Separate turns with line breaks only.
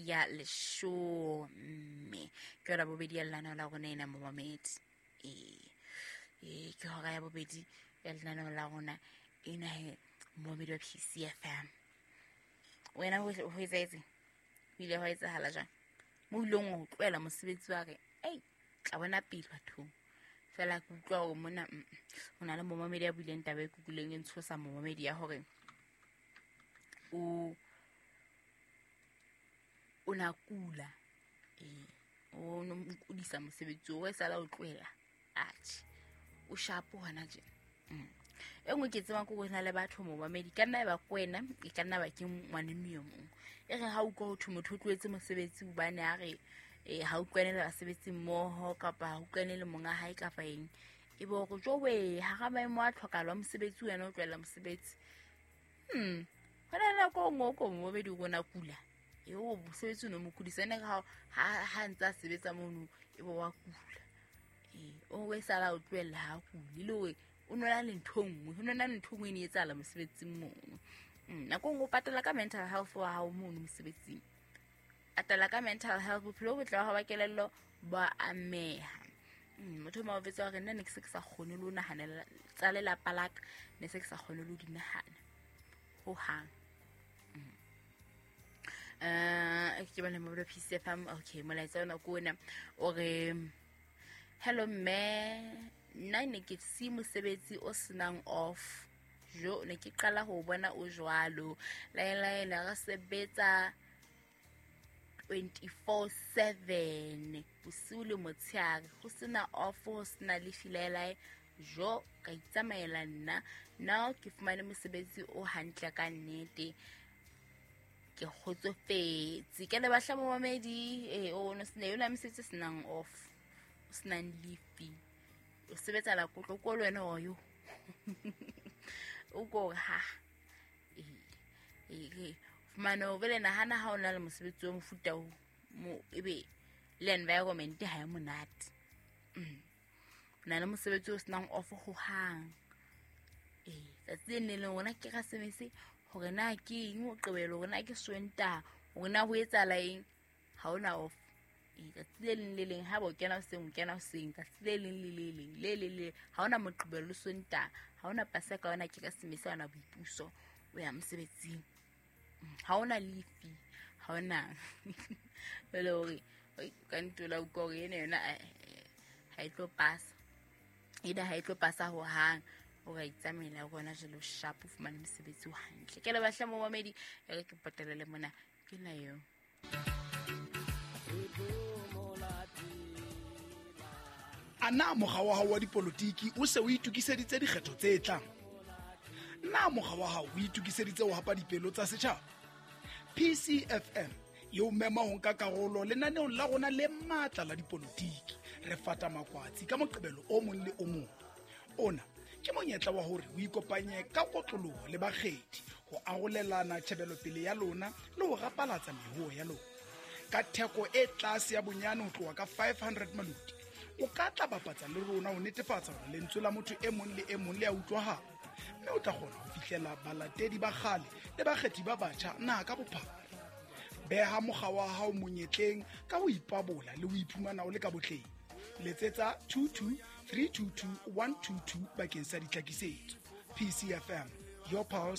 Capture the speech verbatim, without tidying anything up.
ya leshome. Ke hora bobedi ya lenaneo la rona ena momamedi. Ee, ee ke hora ya bobedi ya lenaneo la rona ena he momamedi wa P C F M. Wena ho ho etsahetse? Ho ile hwa etsahala jwang? Mo ileng wa tlohela mosebetsi wa re, ei, tla bona pele bathong. Fela ke utlwa hore mona, mm, ho na le momamedi ya buileng taba e kukuleng e ntshosa momamedi ya hore o, o na kula. Eh, o no mo kudisa mosebetsi o sala o tlohela. Atjhe, o shapo hona tje. Mm. E nngwe ke tsebang ke hore ho na le batho momamedi, ka nna ba ke wena, e ka nna ba ke ngwaneno e mong. E re ha o utlwa ho thwe motho o tlohetse mosebetsi hobane a re, eh, ha utlwane le basebetsi mmoho kapa ha utlwane le monga hae kapa eng. E be hore jowe, hara maemo a tlhokahalo a mosebetsi wena o tlohela mosebetsi. Hmm. Ho na le nako e nngwe o ko momamedi o bona kula. E o mosebetsi o no mo kudisa, ene ha, ha, ha ntse a sebetsa mono, e be wa kula. Eh, o e sala o tlohella ha kule, le hore o nona le ntho e nngwe, ho nona le ntho e nngwe e ne etsahala mosebetsing mono. Mm, nako e nngwe o patala ka mental health wa hao mono mosebetsing. Patala ka mental health, bophelo bo botle ba hao ba kelello bo a ameha. Mm, motho o mong o jwetsa hore nna ne ke se ke sa kgone le ho nahanela tsa lelapa la ka, ne se ke sa kgone le ho di nahana hohang. Mm. Eh, ke bona mo P C F M, okay, molaetsa ona ke ona o re, hello mme, nna ne ke si mosebetsi o senang off. Jo, ne ke qala ho bona o jwalo. Laela, laela, re sebetsa twenty-four seven, bosiu le motshehare, ho sena off, ho sena lefi laelae. Jo, ka itsamaela nna. Now ke fumane mosebetsi o hantle ka nnete. Ke kgotsofetse. Ke le batla momamedi, eh, o no sena yona mesebetsi e senang off, o senang lefi. O sebetsa la kotlo ko le wena o yo. O ko ha. Eh, eh, eh. Fumane o bele nahana ha o na le mosebetsi o mofuta o, mo ebe le environment ha e monate. Mm. O na le mosebetsi o senang off ho hang. Eh, tsatsi le leng le rona ke Keresemese, hore na ke eng Moqebelo, hore na ke Sontaha, hore na ho etsahala eng, ha hona off. Eh, tsatsi le leng le leng ha ba o kena hoseng, o kena hoseng, tsatsi le leng le le leng, le le le, ha hona Moqebelo le Sontaha, ha hona Paseka, ha hona Keresemese, ha hona boipuso, o ya mosebetsing. Ha hona lefi, ha hona. Jwale hore, oi, ka ntola utlwa hore ena yona, eh, eh, ha e tlo pasa. Ena ha e tlo pasa hohang. O ka itsamaela rona jwale o sharp, o fumane mosebetsi o hantle. Ke le batla momamedi, e re ke potelele mona, ke na eo.
A na mokga wa hao wa dipolotiki o se o itokiseditse dikgetho tse tlang? Na mokga wa hao o itokiseditse ho hapa dipelo tsa setjhaba? P C F M e o mema ho nka karolo lenaneong la rona le matla la dipolotiki. Re fata makwatsi ka Moqebelo o mong le o mong. Ona ke monyetla wa hore o ikopanye ka kotloloho le bakgethi ho arolelana tjhebelopele ya lona le ho rapalatsa mehoho ya lona. Ka theko e tlase ya bonyane ho tloha ka five hundred maloti, o ka tla bapatsa le rona ho netefatsa hore lentswe la motho e mong le e mong le a utlwahala, mme o tla kgona ho fihlela balatedi ba kgale le bakgethi ba batjha naha ka bophara. Beha mokga wa hao monyetleng ka ho ipabola le ho iphumana o le ka botleng. Letsetsa two two three two two one two two bakeng sa ditlhakisetso. P C F M, your pulse.